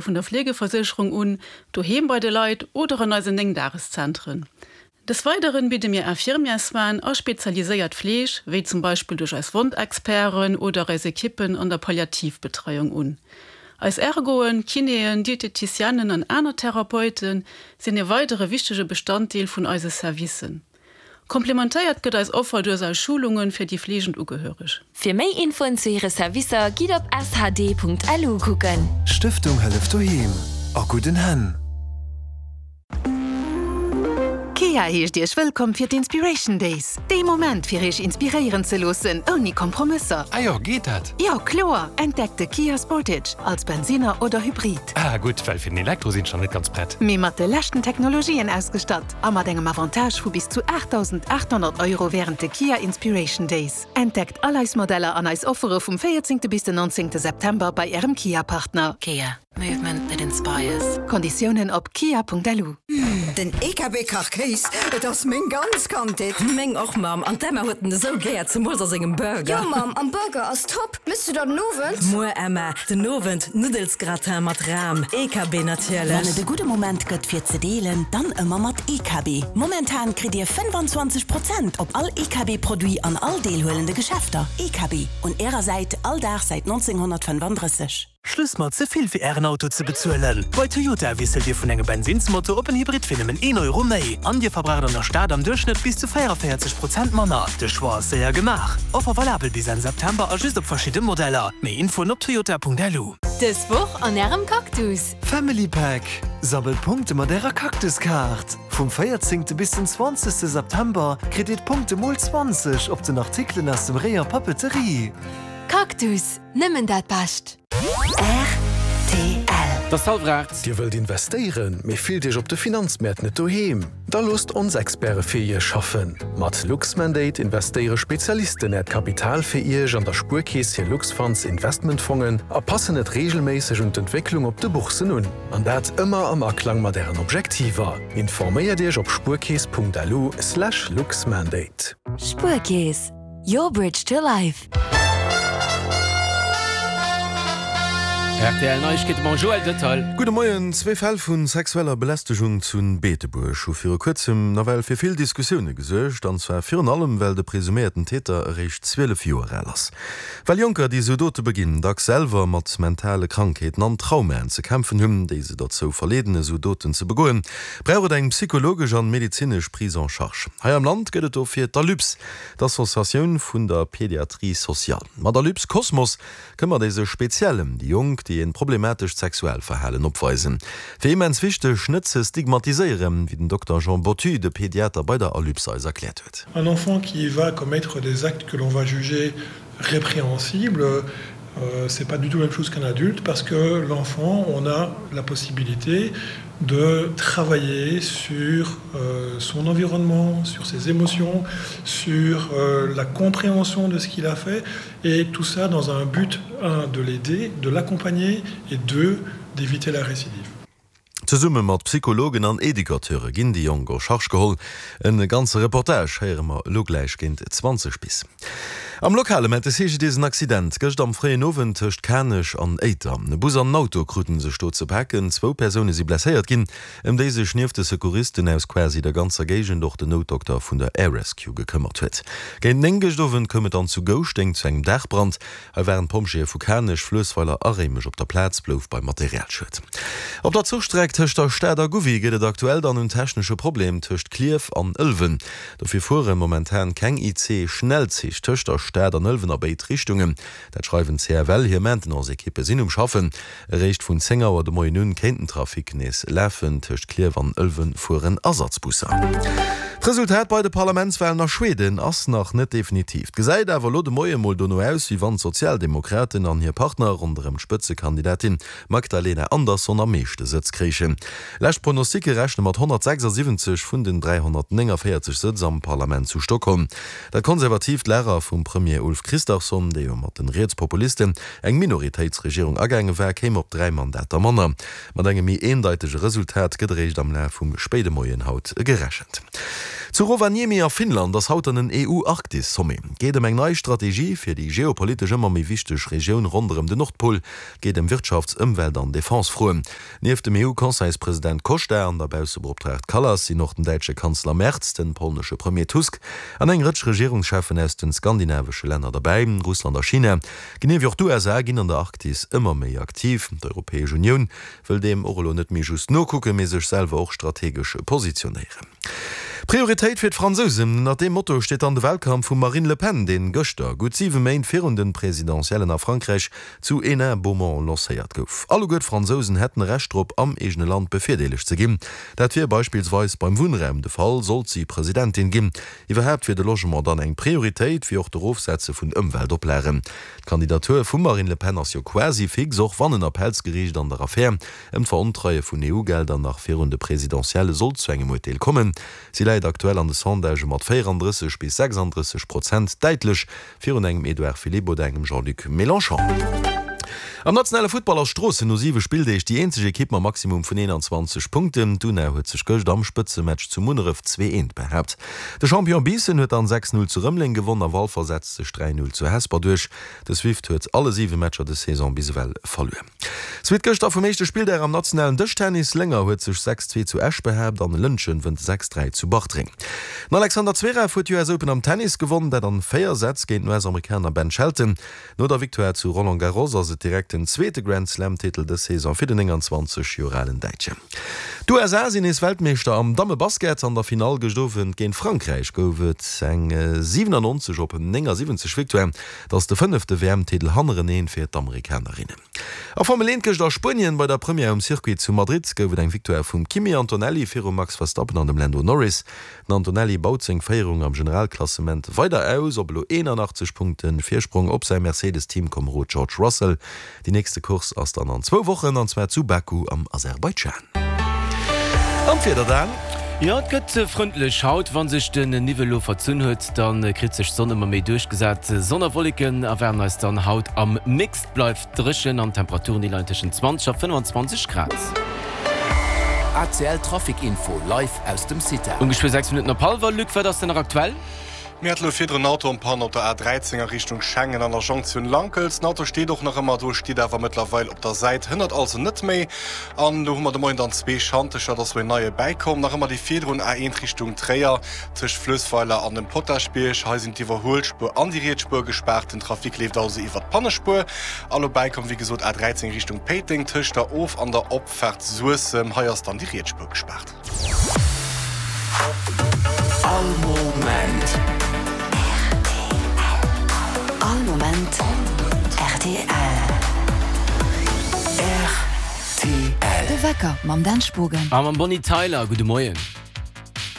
Vun der Fleegeversécherung un, doheem bei de Leit oder an eisen 9 Dageszentren. Des Weideren bidde mir Infirmièrssoinen a spezialiséiert Fleeg, wéi zum Beispill duerch eis Wondexperten oder eis Ekippen an der Palliativbetreiung un. Eis Ergoen, Kinéen, Dieteticienen an aner Therapeute sinn e weidere wichtege Bestanddeel vun eise Servicen. Komplementéiert gëtt eis Offer duerch eis Schulunge fir déi fleegend Ugehöreg. Fir méi Infoen zu hire Servicer gitt op shd.lu kucken. Stëftung Hëllef Doheem, a gudden Hänn! Kia heescht Iech wëllkomm fir d'Inspiration Days, dee Moment fir Iech inspiréieren ze loossen, ouni Kompromësser. Ah jo, geet dat? Jo, kloer! Entdeckt de Kia Sportage als Bensinner oder Hybrid. Ah gutt, well fir den Elektro sinn ech nach net ganz prett. Mee mat de leschten Technologien ausgestatt. A mat engem Avantage vu bis zu 8.800 Euro wärend de Kia Inspiration Days. Entdeckt all eis Modeller an eis Offere vum 14. bis den 19. September bei Ärem Kia-Partner. Kia, movement that inspires. Konditiounen op kia.lu. Den EKB Kachkéis, et ass meng ganz Kandheet. Meng och Mamm, an d'Emma huet en esou gär, zemools a sengem Burger. Jo Mamm, an Burger ass top. Mëss du der den Owend? Muer Emma, den Owend Nuddelsgratin mat Ram, EKB natierlech. Wann et e gudde Moment gëtt fir ze deelen, dann ëmmer mat EKB. Momentan kritt dir 25 Prozent op all EKB Produit an all deelhuelende Geschäfter. EKB, un ärer Säit all Dag säit 1935. Schluss mat ze vill fir ären Auto ze bezuelen! Bei Toyota wiesselt dir vun engem Bensinnsmotor op en Hybrid fir nëmmen een Euro méi. An dir verbraucht an der Stad am Duerchschnëtt bis zu 44 Prozent manner. De Choix ass séier gemaach. Offer valabel bis Enn September a just op verschidde Modeller. Méi Infoen op toyota.lu. Dës Woch an Ärem Cactus! Family Pack, Sammelt Punkte mat ärer Cactus-Kaart! Vum 14. Bis den 20. September kritt dir d'Punkte mol 20 op den Artikelen aus dem Rayon Papeterie. Cactus, nëmmen dat Bescht! Rtl. Et ass hallwer 8. Dir wëllt investéieren, mee fillt Iech op de Finanzmäert net doheem? Da loosst ons Experte fir Iech schaffen! Mat Luxmandate investéiere Spezialisten Äert Kapital fir Iech an der Spuerkeess hir Luxfunds Investmentfongen a passen et reegelméisseg un d'Entwécklung op de Boursen un. An dat ëmmer am Aklang mat Ären Objektiver. Informéiert Iech op spuerkeess.lu slash luxmandate. Spuerkeess, your bridge to life. Rtl Neiegkeete mam Joël Detail. Gudde Moien. Zwee Fäll vu sexueller Belästegung zu Beetebuerg hu viru kuerzem nawell fir vill Diskussioune gesuergt. An zwar virun allem, well de presuméierten Täter eréischt 12 Joer al ass. Well Jonker, déi esou Dote beginn, dacks selwer mat mentale Krankheeten an Traumaen ze kämpfen hunn, déi se dozou verleeden, esou Doten ze begoen, brauch et eng psychologesch an medezinesch Prise en charge. Hei am Land gëtt et dofir d'Alyps, D'Associatioun vun der Pédiatrie sociale. Mat Alyps Cosmos këmmert ee sech speziell ëm déi Jonk, déi een problematescht Sexualverhalen opweisen. Fir immens wichteg, net ze stigmatiséieren, wéi den Dokter Jean Bottu, de Pediater bei der Alyps eis erkläert huet. Un enfant qui va commettre des actes que l'on va juger répréhensibles, c'est pas du tout la même chose qu'un adulte parce que l'enfant, on a la possibilité de travailler sur son environnement, sur ses émotions, sur la compréhension de ce qu'il a fait et tout ça dans un but un de l'aider, de l'accompagner et deux d'éviter la récidive. Zesumme mat Psychologen an Educateure ginn déi Jonk en charge geholl. En ganze Reportage héiere mer elo gläich géint 20 bis. Am Lokale mellt de CGDIS en Accident gëscht am fréien Owend tëscht Kanech an Éiter. E Bus an en Auto kruten sech do ze paken. Zwou Persoune si blesséiert ginn, ëm déi sech nieft de Secouristen aus quasi der ganzer Géigend och den Noutdokter vun der Air Rescue gekëmmert huet. Géint 9 gëscht Owend koum et dann zu Gouschteng zu engem Daachbrand. Hei waren d'Pompjeeë vu Kanech, Fluessweiler a Réimech op der Plaz, blouf beim Materialschued. Op der Zuchstreck tëscht der Stad a Gouvy geet et aktuell dann un technesche Problem tëscht Klierf an Ëlwen. Dofir fuere momentan keng IC-Schnellzich tëscht der Stad an Ëlwen a béid Richtungen. Dat schreiwen d'CFL. Hir Maintenance-Ekippe sinn um Schaffen. Eréischt vun 10 Auer de Moien un kéint den Trafic nees lafen. Tëscht Klierf an Ëlwen fueren Ersatzbusser. D'Resultat bei de Parlamentswalen a Schweden ass nach net definitiv. 't gesäit awer elo de Moie mol dono aus, wéi wann d'Sozialdemokraten an hir Partner ronderëm d'Spëtzekandidatin Magdalena Andersson am meeschte Sëtz kréichen. Lescht Pronosticke rechne mat 176 vun den 349 Sëtz am Parlament zu Stockholm. Dat konservatiivt Lager vum Premier Ulf Kristersson, dee jo mat den Rietspopulisten eng Minoritéitsregierung agaange war, kéim op 3 Mandater manner. Mat engem méi eendeitege Resultat gëtt eréischt am Laf vum spéide Moien haut gerechent. Zu Rovaniemi a Finnland ass haut dann en EU-Arktis-Sommet. Et geet ëm eng nei Strategie fir déi geopolitesch ëmmer méi wichteg Regioun ronderëm den Nordpol. Et geet ëm Wirtschafts-, Ëmwelt an Defense-Froen. Nieft dem EU-Conseilspresident Costa an der Baussebeoptraagt Kallas sinn och den däitsche Kanzler Merz, den polnesche Premier Tusk an eng Rëtsch Regierungscheffen aus den skandinavesche Länner derbäi. Russland a China, genee wéi och d'USA, ginn an der Arktis ëmmer méi aktiv. D'Europäesch Unioun wëll deem och elo net méi just nokucken, mee sech selwer och strategesch positionéieren. Prioritéit fir d'Fransousen, ënnert deem Motto steet dann de Wahlkampf vum Marine Le Pen, deen gëschter, gutt 7 Méint virun de Presidentiellen a Frankräich, zu Hénin-Beaumont lancéiert gouf. Alleguer d'Fransousen hätten e Recht drop, am eegene Land bevirdeelegt ze ginn. Dat wier beispillsweis beim Wunnraum de Fall, sollt si Presidentin ginn. Iwwerhaapt wier de Logement dann eng Prioritéit, wéi och d'Erofsetze vun Ëmweltoplagen. D'Kandidatur vum Marine Le Pen ass jo quasi fix, och wann en Appellsgeriicht an der Affär ëm d'Verontreie vun EU-Gelder nach virun de Presidentielle sollt zu engem Urteel kommen. Si läit aktuell an de Sondagë mat 34 bis 36 Prozent däitlech virun engem Edouard Philippe oder engem Jean-Luc Mélenchon. Am nationale Futtball ass Stroossen no 7 Spilldeeg déi eenzeg Ekipp mam Maximum vun 21 Punkten. D'Una huet sech gëscht am Spëtzematch zu Munneref 2, 1 behaapt. De Champion Biissen huet dann 6, 0 zu Rëmeleng gewonn a Walfer setzt sech 3, 0 zu Hesper duerch. De Swift huet alle 7 Matcher des Saison bis ewell verluer. Suite gëschter vum éischte Spilldag am nationalen Dëschtennis, Lénger huet sech 6, 2 zu Esch behaapt an Lëntgen wënnt 6, 3 zu Bartreng. Den Alexander Zverev huet d'US Open am Tennis gewonn, dat an 4 Sätz géint den US-Amerikaner Ben Shelton. No der Victoire zu Roland Garros ass et direkt den zweete Grand-Slam-Titel dës Saison fir den 29 Joer alen Däitschen. D'USA sinn nees Weltmeeschter am Dammebasket. An der Finall gëscht Owend géint Frankräich gouf et eng 97 op 79 Victoire. Et ass de fënnefte WM-Titel hannereneen fir d'Amerikanerinnen. A Formel 1 gëscht a Spuenien bei der Première um Circuit zu Madrid gouf et eng Victoire vum Kimi Antonelli virum Max Verstappen an dem Lando Norris. Den Antonelli baut seng Féierung am Generalklassement weider aus op elo 81 Punkte Virsprong op säi Mercedes-Teamkomerod George Russell. Déi nächste Course ass dann an zwou Wochen, an zwar zu Baku am Aserbaidschan. An d'Wieder dann? Jo, et gëtt frëndlech haut. Wa sech den Niwwel elo verzunn huet, da kritt sech d'Sonn ëmmer méi duerchgesat. Sonn a Wolleken erwaarden eis dann haut am Mix. Et bleift dréchen an d'Temperaturen déi leien tëschent 20 a 25 Grad. ACL Trafic Info live aus dem CITA. Um geschwë 6 Minutten op hallwer. Luc, wat ass denn nach aktuell? Mir hate lo virdrun en Auto en panne op der A 13 a Richtung Schengen an der Jonktioun Lankels. Den Auto steet och nach ëmmer do, steet awer mëttlerweil op der Säit, hënnert also net méi. An do hu mer de Moien dann zwee Schantecher, et ass lo een neie bäikomm. Nach ëmmer déi virdrun A 1 Richtung Tréier tëscht Fluessweiler an dem Potaschbierg. Hei sinn d'Iwwerhuelspuer an déi riets Spuer gespaart, den Trafic leeft also iwwer d'Pannespuer. A lo bäikomm wéi gesot A 13 Richtung Péiteng tëscht der Of an der Opfaart Suessem. Hei ass dann déi riets Spuer gespaart. All Moment. All Moment rtl. Rtl. De Wecker mam Dan Spogen. A mam Bonnie Tyler. Gudde Moien.